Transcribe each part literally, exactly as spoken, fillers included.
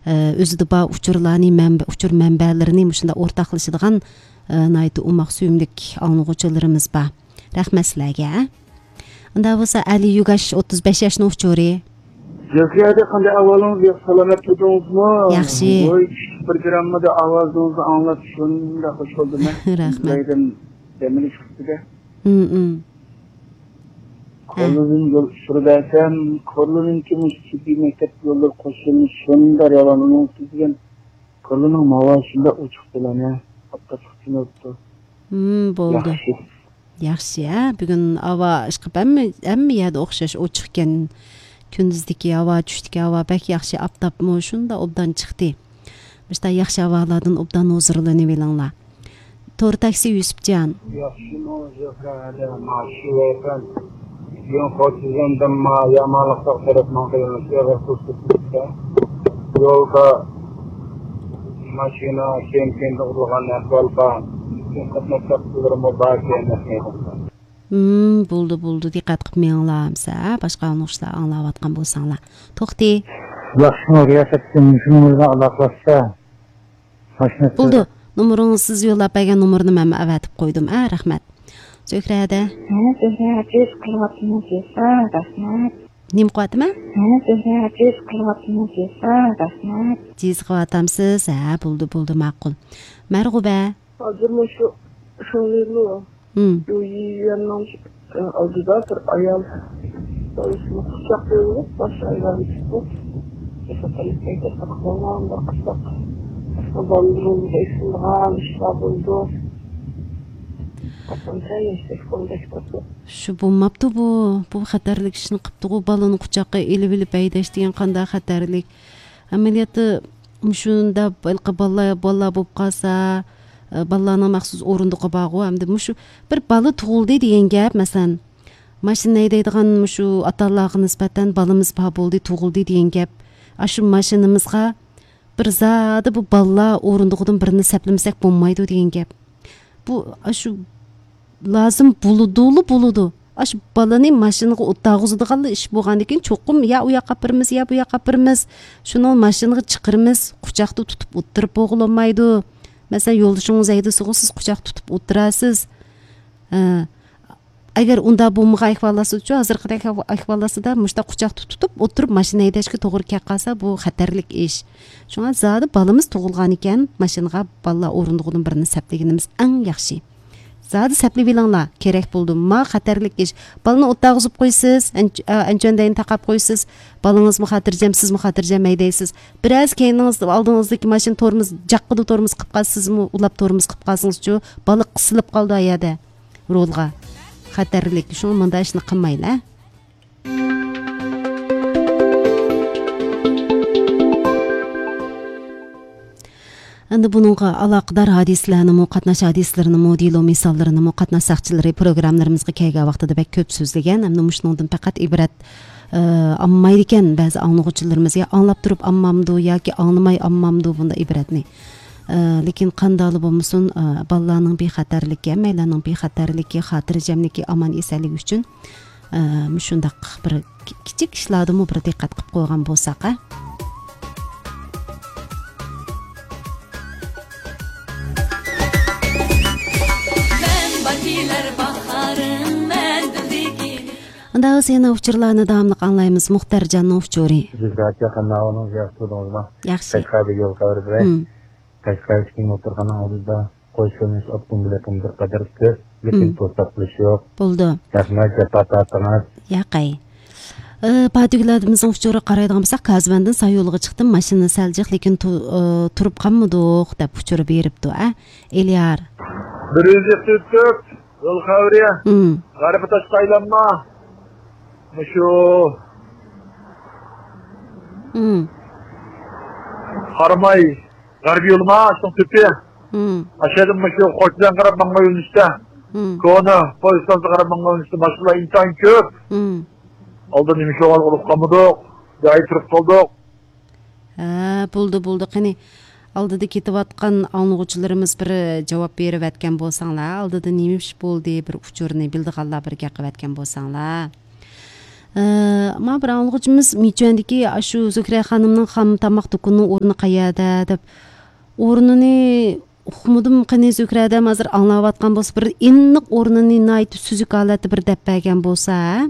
ئە، ئۆزىدە بار ئۇچۇرلارنى، مەنبە-، ئۇچۇر مەنبەلىرىنى مۇشۇنداق ئورتاقلىشىدىغان، ئە، ناھايىتى ئوماق سۆيۈملۈك ئاڭلىغۇچىلىرىمىز بار. رەھمەت سىلەرگە. ئۇنداق بولسا، ئەلى يۈگاش، ئوتتۇز بەش ياشنىڭ ئۇچۇرى. زۆھرە ھەدە، قانداق ئەھۋالىڭىز؟ ياخشى، سالامەت تۇردىڭىزمۇ؟ ياخشى. ۋاي، كۈچلۈك پروگراممىدا ئاۋازىڭىزنى ئاڭلاپ شۇنداق خۇش بولدۇم، ھە. رەھمەت. ئىزدەيدىم دەم ئېلىش ۋاقتىدا. ھىم، ھىم. ھە. كورلىدىن يول ئۇچۇرى بەرسەم، كورلىنىڭكى مۇشۇ تىببىي مەكتەپ يوللىرى قوشۇنى شۇنداق يامان ئۇنىڭ دېگەن كورلىنىڭ ماۋا شۇنداق ئوچۇق بىلەن، ھە. ئاپتاپلىق تۈنۈپتۇ. ھىم، بولدى. ياخشى. ياخشى، ھە؟ بۈگۈن ھاۋا ئىشقىپ ھەممە، ھەممە يەردە ئوخشاش ئوچۇقكەن. كۈندۈزدىكى ھاۋا، چۈشتىكى ھاۋا بەك ياخشى، ئاپتاپمۇ شۇنداق ئوبدان چىقتى. مۇشۇنداق ياخشى ھاۋالاردىن ئوبدان ھۇزۇرلىنىۋېلىڭلار. تور تاكسى يۈسۈپجان. ياخشىمۇ زۆھرە ھەدە، ماشۇ ۋەتەن. بۈگۈن خوتۇنۇمدىن ما يامانلىققا قاراپ ماڭغىنىمىز ئېغىر پۇرسەتلىكتە. يولدا ماشىنا كېيىن-كېيىن ئۇرۇلغان ئەھۋال بار. قاتناش تارتىشلىرىمۇ بار، كېيىن ئەسلىدە. ھىم، بولدى، بولدى، دىققەت قىلىپ مېڭىڭلار، ئەمسە باشقا ئاڭلىغۇچىلار ئاڭلاۋاتقان بولساڭلار. توختى. ياخشىمۇ رىياسەتتىن مۇشۇ نومۇرغا ئالاقىلاشسا، ماشىنا بولدى. نومۇرىڭىز، سىز يوللاپ بەرگەن نومۇرنى مەنمۇ ئەۋەتىپ قويدۇم. ئە، رەھمەت. زۆھرەدە. ھە، زۆھرە، جىز قىلىۋاتىمەن، جىز. ھە، رەھمەت. نېمە قىلىۋاتىمەن؟ ھە، زۆھرە، جىز قىلىۋاتىمەن، جىز. ھە، رەھمەت. جىز قىلىۋاتامسىز؟ ھە، بولدى، بولدى، ماقۇل. مەرغۇبە. ھازىر مۇشۇ شۇڭلىنۇ ھىم. يۈيۈەننىڭ ئالدىدا بىر ئايال بالىسىنى قۇچاقلىۋېلىپ، باش ئايلانتىپ، بالىلىرىمىزغا ئېسىلغان ئىشلار بولىدۇ. شۇ بولماپتۇ بۇ. بۇ خەتەرلىك ئىشنى قىپتىغۇ، بالىنى قۇچاققا ئېلىۋېلىپ ھەيدەش دېگەن قانداق خەتەرلىك. ئەمەلىيەتتە مۇشۇنداق ھېلىقى بالىلار، بالىلار بولۇپ قالسا، ئە، بالىلارنىڭ مەخسۇس ئورۇندۇقى بارغۇ، ئەمدى مۇشۇ بىر بالا تۇغۇلدى دېگەن گەپ، مەسىلەن، ماشىنا ھەيدەيدىغان مۇشۇ ئاتا-ئانىلارغا نىسبەتەن بالىمىز بار بولدى، تۇغۇلدى دېگەن گەپ. ئاشۇ ماشىنىمىزغا بىر زادى بۇ بالىلار ئورۇندۇقىدىن بىرنى سەپلىمىسەك بولمايدۇ دېگەن گەپ. بۇ، ئاشۇ لازىم بولىدۇلا بولىدۇ. ئاشۇ بالىنى ماشىنىغا ئولتۇرغۇزىدىغانلا ئىش بولغاندىكىن، چوقۇم يا ئۇ ياققا ئاپىرىمىز، يا بۇ ياققا ئاپىرىمىز. شۇنى ماشىنىغا چىقىرىمىز، قۇچاقتا تۇتۇپ ئولتۇرۇپ بولغىلى بولمايدۇ. مەسىلەن، يولدىشىڭىز ھەيدىسىغۇ، سىز قۇچاقتا تۇتۇپ ئولتۇراسىز. ھە. ئەگەر ئۇنداق بولمىغان ئەھۋاللارسىدىچۇ، ھازىرقىدەك ئەھۋاللارسىدا مۇشۇنداق قۇچاقتا تۇتۇپ ئولتۇرۇپ ماشىنا ھەيدەشكە توغرا كەپ قالسا، بۇ خەتەرلىك ئىش. شۇڭا زادى بالىمىز تۇغۇلغانىكەن، ماشىنىغا بالىلار ئورۇندۇقىدىن بىرنى سەپلىگىنىمىز ئەڭ ياخشى. زادى سەپلىۋېلىڭلار، كېرەك بولىدۇ. ما خەتەرلىك ئىش. بالىنى ئولتۇرغۇزۇپ قويىسىز، ئەنچ-، ئا، ئەنچۈەندەينى تاقاپ قويىسىز. بالىڭىزمۇ خاتىرجەم، سىزمۇ خاتىرجەم ھەيدەيسىز. بىرەرسى كەينىڭىزدە، ئالدىڭىزدىكى ماشىنا تورمۇز، جاققىدە تورمۇز قىلىپ قالسا، سىزمۇ ئۇلاپ تورمۇز قىلىپ قالسىڭىزچۇ، بالا قىسىلىپ قالىدۇ ئۇ يەردە. رولغا. خەتەرلىك. شۇڭا مۇنداق ئىشنى قىلمايلى. ئەمدى بۇنىڭغا ئالاقىدار ھادىسىلەرنىمۇ، قاتناش ھادىسىلىرىنىمۇ، دېلو مىساللىرىنىمۇ قاتناش ساقچىلىرى پروگراممىلىرىمىزغا كەلگەن ۋاقتىدا بەك كۆپ سۆزلىگەن. ئەمدى مۇشۇنىڭدىن پەقەت ئىبرەت، ئە، ئالمايدىكەن بەزى ئاڭلىغۇچىلىرىمىز. يا ئاڭلاپ تۇرۇپ ئالمامدۇ ياكى ئاڭلىماي ئالمامدۇ بۇنداق ئىبرەتنى. ئە، لېكىن قانداقلا بولمىسۇن، ئە، بالىلارنىڭ بىخەتەرلىكى، ھەممەيلەننىڭ بىخەتەرلىكى، خاتىرجەملىكى، ئامان ئېسەنلىكى ئۈچۈن ئە، مۇشۇنداق بىر كى-، كىچىك ئىشلاردىمۇ بىر دىققەت قىلىپ قويغان بولساق، ھە؟ ئۇنداق بولسا يەنە ئۇچۇرلارنى داۋاملىق ئاڭلايمىز. مۇختەرجاننىڭ ئۇچۇرى. زۆھرە ئاكا، قانداق ئەھۋالىڭىز؟ ياخشى تۇردىڭىزمۇ؟ ياخشى. قەشقەردىكى يول خەۋىرى بىلەن. ھىم. قەشقەردىكى موتورخانىنىڭ ئالدىدا قوي سېلىش ئاپتوموبىلى بىر قەدەر كۆپ، لېكىن، ھىم، توساتلىشى يوق. بولدى. رەھمەت، جاپا تارتىڭىز. ياقەي. ئى، پاتىگۈل ھەدىمىزنىڭ ئۇچۇرىغا قارايدىغان بولساق، كازىۋەندىن سايۇلغا چىقتىم، ماشىنا سەل جىق، لېكىن تۇ-، ئى، تۇرۇپ قالمىدۇق، دەپ ئۇچۇر بېرىپتۇ، ئە، ئېلىيار. بىر يۈز يەتتە تۆت، يول خەۋىرى. ھىم. غەربىي تاشقا ئايلانما. مۇشۇ. ھىم. قاراماي. غەربىي يولىما، شۇنىڭ تۆپى. ھىم. ئاشۇ يەردىن مۇشۇ خوجىدىن قاراپ ماڭغان يۆنىلىشتە. ھىم. كونا پويىز ئىستانسىغا قاراپ ماڭغان يۆنىلىشتە ماشىنىلار ئىنتايىن كۆپ. ھىم. ئالدىدا نېمە ئىش بولغانلىقىنى ئۇقۇپ قالمىدۇق. جايىدا تۇرۇپ قالدۇق. ھە، بولدى، بولدى. قېنى، ئالدىدا كېتىۋاتقان ئاڭلىغۇچىلىرىمىز بىر جاۋاب بېرىۋەتكەن بولساڭلار، ئالدىدا نېمە ئىش بولدى، بىر ئۇچۇرنى بىلىدىغانلار بىر گەپ قىلىۋەتكەن بولساڭلار. ئە، ما بىر ئاڭلىغۇچىمىز مىچۈەندىكى ئاشۇ زۆھرە خانىمنىڭ خام تاماق دۇكىنىنىڭ ئورنى قەيەردە دەپ، ئورنىنى ئۇقمىدىم قېنى زۆھرە دەم ھازىر ئاڭلاۋاتقان بولسا، بىر ئېنىق ئورنىنى ناھايىتى سۈزۈك ھالەتتە بىر دەپ بەرگەن بولسا، ھە؟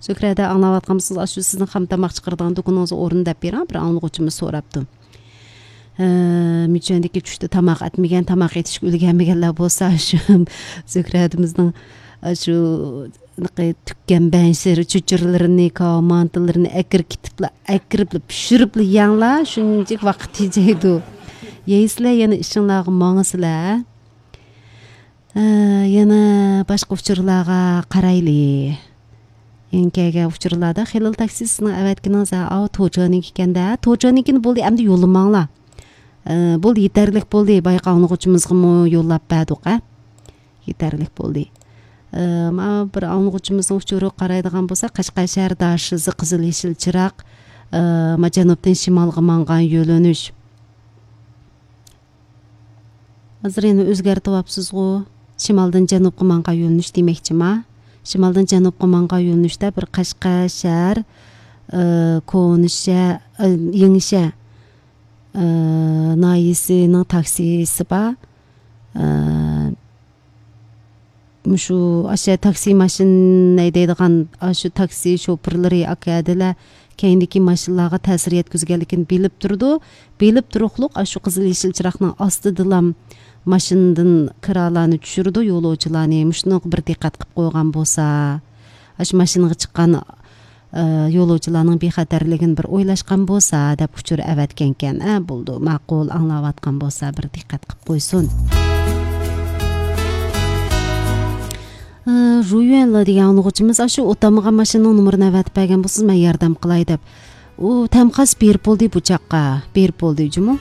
زۆھرە دە ئاڭلاۋاتقان بولسىڭىز، ئاشۇ سىزنىڭ خام تاماق چىقىرىدىغان دۇكىنىڭىزنىڭ ئورنىنى دەپ بېرىڭ، بىر ئاڭلىغۇچىمىز سوراپتۇ. ئە، مىچۈەندىكى چۈشتە تاماق ئەتمىگەن، تاماق ئېتىشكە ئۈلگەنمىگەنلەر بولسا، شۇ زۆھرەدىمىزنىڭ، ئە، شۇ تۈككەن بەنشىر چۆچۈرىلىرىنى، كاۋا مانتىلىرىنى ئەكىرىپ كېتىپلا، ئەكىرىپلا، پىشۇرۇپلا يەڭلا، شۇنچىلىك ۋاقىت تېجەيدۇ. يەيسىلەر، يەنە ئىشىڭلارغا ماڭىسىلەر. ئە، يەنە باشقا ئۇچۇرلارغا قارايلى. يەنە كەلگەن ئۇچۇرلاردا خېلىل تاكسى سىزنىڭ ئەۋەتكىنىڭىز، ھە، ئاۋۇ توجانىڭكى ئىكەن-دە. توجانىڭكىنى بولدى، ئەمدى يوللىماڭلار. ئە، بولدى، يېتەرلىك بولدى. بايىقى ئاڭلىغۇچىمىزغىمۇ يوللاپ بەردۇق، ھە. يېتەرلىك بولدى. ئە، مانا بىر ئاڭلىغۇچىمىزنىڭ ئۇچۇرىغا قارايدىغان بولساق، قەشقەر شەھەر داشىزى قىزىل يېشىل چىراغ، ئە، ما جەنۇبتىن شىمالغا ماڭغان يۆلىنىش. ھازىر يەنە ئۆزگەرتىۋاپسىزغۇ؟ شىمالدىن جەنۇبقا ماڭغان يۆلىنىش دېمەكچىما؟ شىمالدىن جەنۇبقا ماڭغان يۆلىنىشتە بىر قەشقەر شەھەر، ئى، كونىشە، ئى، يېڭىشە، ئى، ناھىيەسىنىڭ تاكسىسى بار. ئى، مۇشۇ ئاشۇ تاكسى ماشىنا ھەيدەيدىغان، ئاشۇ تاكسى شوپۇرلىرى ئاكا ھەدىلەر كەينىدىكى ماشىنىلارغا تەسىر يەتكۈزگەنلىكىنى بىلىپ تۇرىدۇ. بىلىپ تۇرۇقلۇق ئاشۇ قىزىل يېشىل چىراغنىڭ ئاستىدىلام ماشىنىدىن كىرالارنى چۈشۈرىدۇ، يولۇچىلارنى. مۇشۇنىڭغا بىر دىققەت قىلىپ قويغان بولسا، ئاشۇ ماشىنىغا چىققان، ئە، يولۇچىلارنىڭ بىخەتەرلىكىنى بىر ئويلاشقان بولسا دەپ ئۇچۇر ئەۋەتكەنكەن. ئە، بولدى، ماقۇل، ئاڭلاۋاتقان بولسا بىر دىققەت قىلىپ قويسۇن. ئى، ژۇيۈەنلا دېگەن ئاڭلىغۇچىمىز ئاشۇ ئوتالمىغان ماشىنىنىڭ نومۇرىنى ئەۋەتىپ بەرگەن بولسىڭىز، مەن ياردەم قىلاي دەپ. ئۇ تەمخاس بېرىپ بولدى بۇ چاققا. بېرىپ بولدى جۇمۇ.